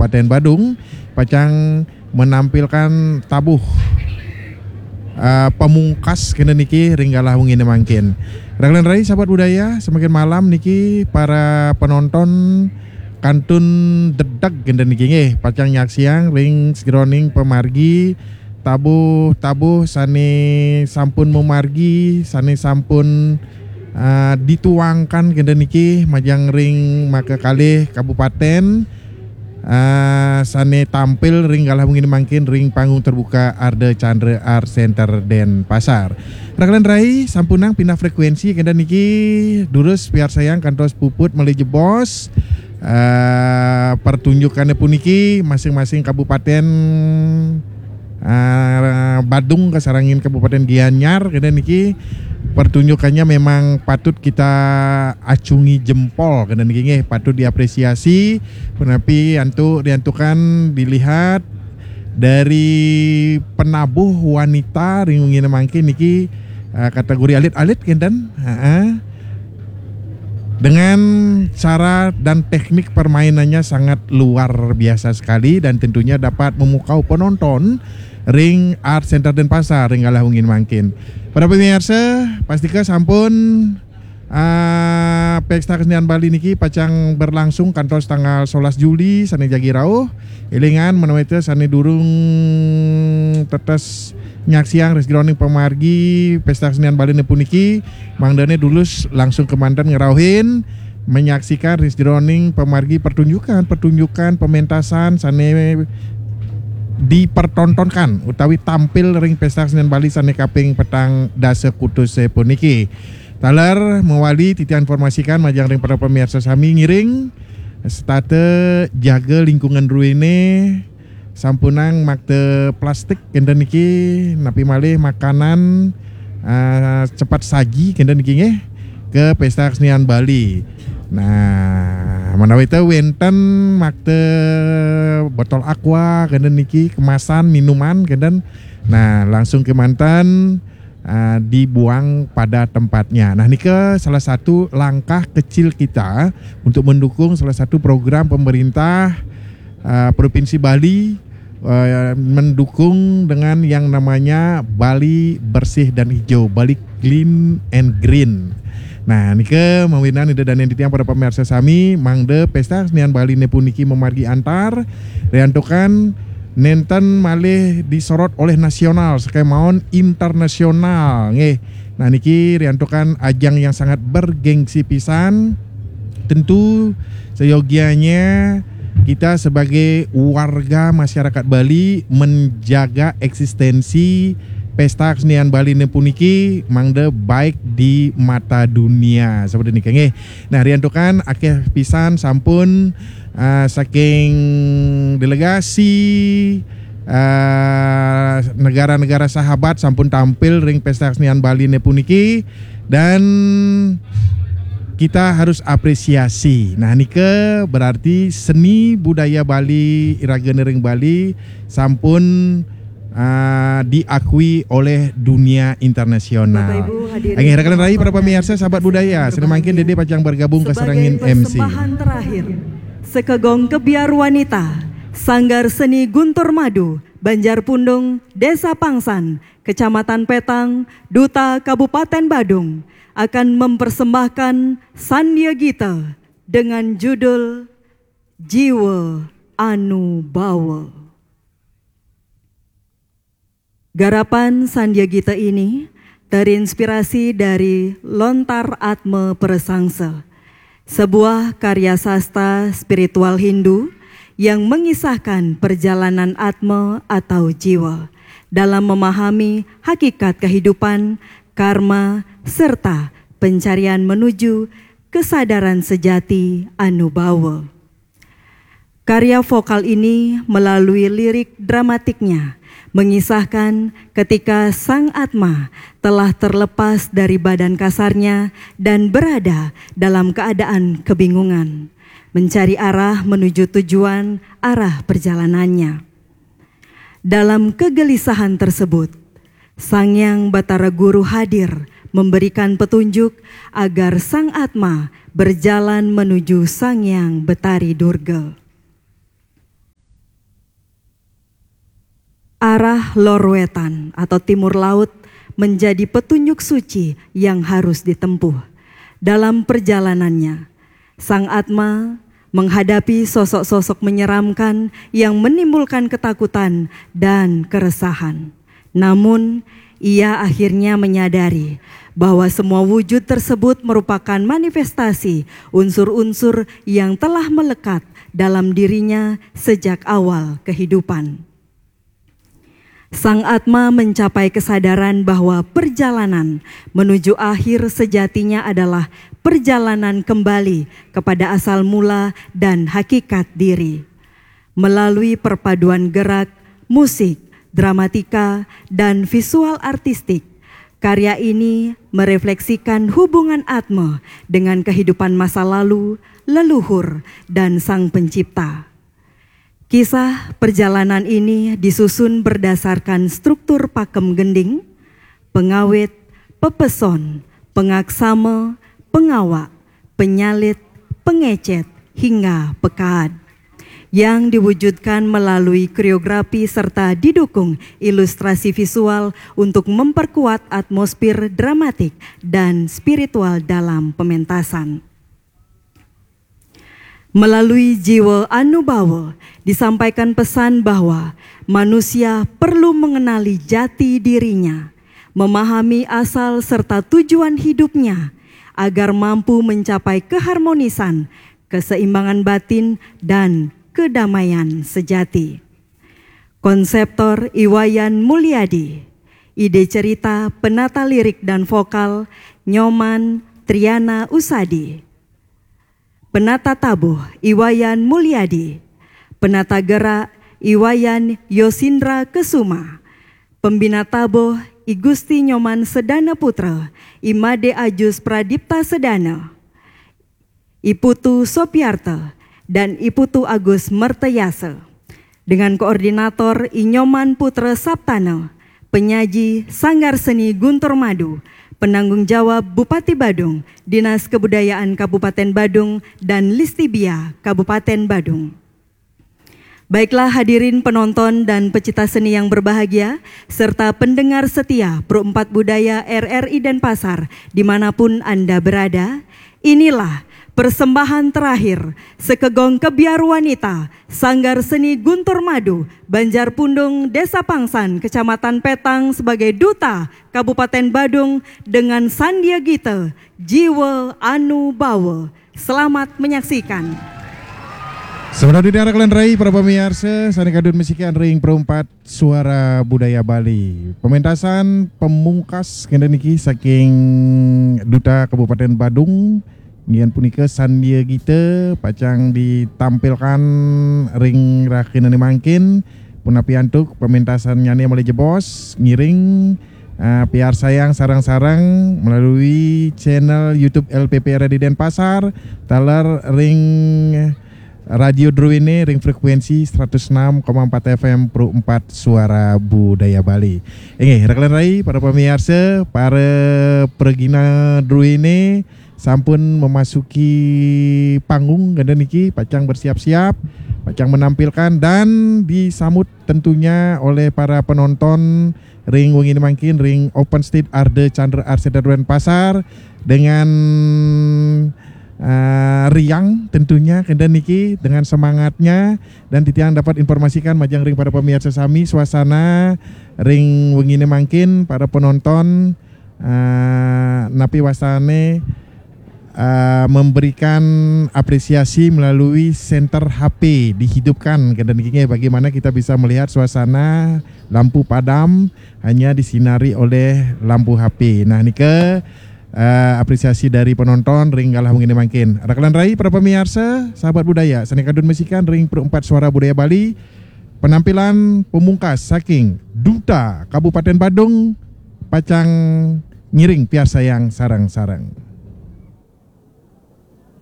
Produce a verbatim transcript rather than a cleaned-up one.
Kabupaten Badung pacang menampilkan tabuh uh, pamungkas kena niki ring galah wengi mangkin. Raglan rai sahabat budaya, semakin malam niki para penonton kantun dedag kena niki nggih pacang nyaksiang ring sajeroning pamargi tabuh-tabuh sane sampun mamargi, sane sampun uh, dituangkan kena niki majang ring maka kalih kabupaten uh, sane tampil ring galah wengi mangkin ring panggung terbuka Arda Chandra Art Center Denpasar. Raglan rai sampunang pindah frekuensi kena niki durus piarsayang kantos puput malih jebos uh, pertunjukannya puniki masing-masing kabupaten uh, Badung kasarengin Kabupaten Gianyar kena niki pertunjukannya memang patut kita acungi jempol kena niki nggih patut diapresiasi. Punapi antuk diantukan dilihat dari penabuh wanita ring wengi mangkin niki uh, kategori alit-alit kenten. Heeh. Dengan cara dan teknik permainannya sangat luar biasa sekali dan tentunya dapat memukau penonton ring Art Center Denpasar ring galah wengi mangkin. Para pemirsa, pastika sampun uh, Pesta Kesenian Bali niki pacang berlangsung kantos tanggal sebelas Juli sane jagi rauh. Elingan menawi sane durung tetes nyaksiang ring sajeroning pamargi Pesta Kesenian Bali puniki mangdane dulus langsung kemanten ngerauhin menyaksikan ring sajeroning pamargi pertunjukan-pertunjukan pementasan sane dipertontonkan utawi tampil ring Pesta Kesenian Bali sane kaping petang dasa kutus puniki. Taler mawali titiang informasikan majang ring para pemirsa sami ngiring setata jaga lingkungan druene sampunang makta plastik kenten niki napi malih makanan uh, cepat saji kenten niki nggih ke pesta kesenian Bali. Nah, menawi te wenten makta botol aqua kenten niki kemasan minuman kenten nah langsung kemanten uh, dibuang pada tempatnya. Nah, nika salah satu langkah kecil kita untuk mendukung salah satu program pemerintah uh, Provinsi Bali uh, mendukung dengan yang namanya Bali Bersih dan Hijau, Bali Clean and Green. Nah, nika mawinan ida danen titiang para pemirsa sami, mangda Pesta Kesenian Bali ne puniki memargi antar, riantukan nenten malih disorot oleh nasional, sekemaon internasional, nggih. Nah, niki riantukan ajang yang sangat bergengsi pisan. Tentu seyogianya kita sebagai warga masyarakat Bali menjaga eksistensi Pesta Kesenian Bali puniki mangda baik di mata dunia seperti niki nggih. Nah, riantukan akeh pisan sampun uh, saking delegasi uh, negara-negara sahabat sampun tampil ring Pesta Kesenian Bali puniki dan kita harus apresiasi. Nah, nika berarti seni budaya Bali, iraga nering Bali sampun uh, diakui oleh dunia internasional. Angin rakan rai para pemirsa sahabat budaya, semakin dede pacang bergabung ke serangin M C. Terakhir, Sekegong Kebiar Wanita, Sanggar Seni Guntur Madu, Banjar Pundung, Desa Pangsan, Kecamatan Petang, Duta Kabupaten Badung akan mempersembahkan Sandya Gita dengan judul Jiwa Anu Bawa. Garapan Sandya Gita ini terinspirasi dari Lontar Atma Persangsa, sebuah karya sastra spiritual Hindu yang mengisahkan perjalanan atma atau jiwa dalam memahami hakikat kehidupan, karma, serta pencarian menuju kesadaran sejati anu bawa. Karya vokal ini melalui lirik dramatiknya mengisahkan ketika sang atma telah terlepas dari badan kasarnya dan berada dalam keadaan kebingungan, mencari arah menuju tujuan arah perjalanannya. Dalam kegelisahan tersebut, Sang Yang Batara Guru hadir memberikan petunjuk agar sang atma berjalan menuju Sang Yang Betari Durga. Arah lor wetan atau timur laut menjadi petunjuk suci yang harus ditempuh. Dalam perjalanannya, Sang Atma menghadapi sosok-sosok menyeramkan yang menimbulkan ketakutan dan keresahan. Namun, ia akhirnya menyadari bahwa semua wujud tersebut merupakan manifestasi unsur-unsur yang telah melekat dalam dirinya sejak awal kehidupan. Sang Atma mencapai kesadaran bahwa perjalanan menuju akhir sejatinya adalah perjalanan kembali kepada asal mula dan hakikat diri. Melalui perpaduan gerak, musik, dramatika, dan visual artistik, karya ini merefleksikan hubungan Atma dengan kehidupan masa lalu, leluhur, dan Sang Pencipta. Kisah perjalanan ini disusun berdasarkan struktur pakem gending, pengawit, pepeson, pengaksama, pengawak, penyalit, pengecet, hingga pekaad, yang diwujudkan melalui koreografi serta didukung ilustrasi visual untuk memperkuat atmosfer dramatik dan spiritual dalam pementasan. Melalui jiwa anubawa, disampaikan pesan bahwa manusia perlu mengenali jati dirinya, memahami asal serta tujuan hidupnya, agar mampu mencapai keharmonisan, keseimbangan batin, dan kedamaian sejati. Konseptor I Wayan Mulyadi. Ide cerita, penata lirik dan vokal, Nyoman Triana Usadi. Penata tabuh, I Wayan Mulyadi. Penata gerak, I Wayan Yosindra Kesuma. Pembina tabuh, I Gusti Nyoman Sedana Putra, I Made Ajus Pradipta Sedana, I Putu Sopiarta, dan I Putu Agus Mertayasa. Dengan koordinator I Nyoman Putra Saptana, penyaji Sanggar Seni Guntur Madu, penanggung jawab Bupati Badung, Dinas Kebudayaan Kabupaten Badung, dan Listibia Kabupaten Badung. Baiklah, hadirin penonton dan pecinta seni yang berbahagia, serta pendengar setia Pro empat Budaya R R I Denpasar, dimanapun Anda berada, inilah persembahan terakhir Sekegong Kebiar Wanita Sanggar Seni Guntur Madu, Banjar Pundung, Desa Pangsan, Kecamatan Petang, sebagai Duta Kabupaten Badung dengan Sandia Gita, Jiwa Anu Bawa. Selamat menyaksikan. Sebenarnya diarahkan rai para pemirsa, sane kadun mesikan ring Pro empat Suara Budaya Bali. Pementasan pemungkas kene niki saking Duta Kabupaten Badung, ngian punika Sandia Gita pacang ditampilkan ring rahinane mangkin, punapi antuk pementasannyane malih jebos, ngiring, eh, piarsayang sareng-sareng melalui channel YouTube L P P R di Denpasar, taler ring Radio Druene ring frekuensi seratus enam koma empat F M Pro empat Suara Budaya Bali. Inggih, rekan rai, para pemirsa, para pragina Druene sampun memasuki panggung kenten niki, pacang bersiap-siap, pacang menampilkan dan disambut tentunya oleh para penonton ring wengi mangkin ring Open Stage Arde Chandra Arsena Denpasar dengan, eh, riang tentunya kenten niki dengan semangatnya, dan titiang dapat informasikan majeng ring para pemirsa sami suasana ring wengi mangkin para penonton, eh, napi wastane, eh, memberikan apresiasi melalui senter H P dihidupkan kenten niki nggih, bagaimana kita bisa melihat suasana lampu padam hanya disinari oleh lampu H P. Nah, nika, eh, apresiasi dari penonton ring galah wengi mangkin. Rekan rai, para pemirsa, sahabat budaya, sane kadun mesikan ring Pro empat Suara Budaya Bali, penampilan pemungkas saking Duta Kabupaten Badung pacang ngiring piarsayang sareng-sareng.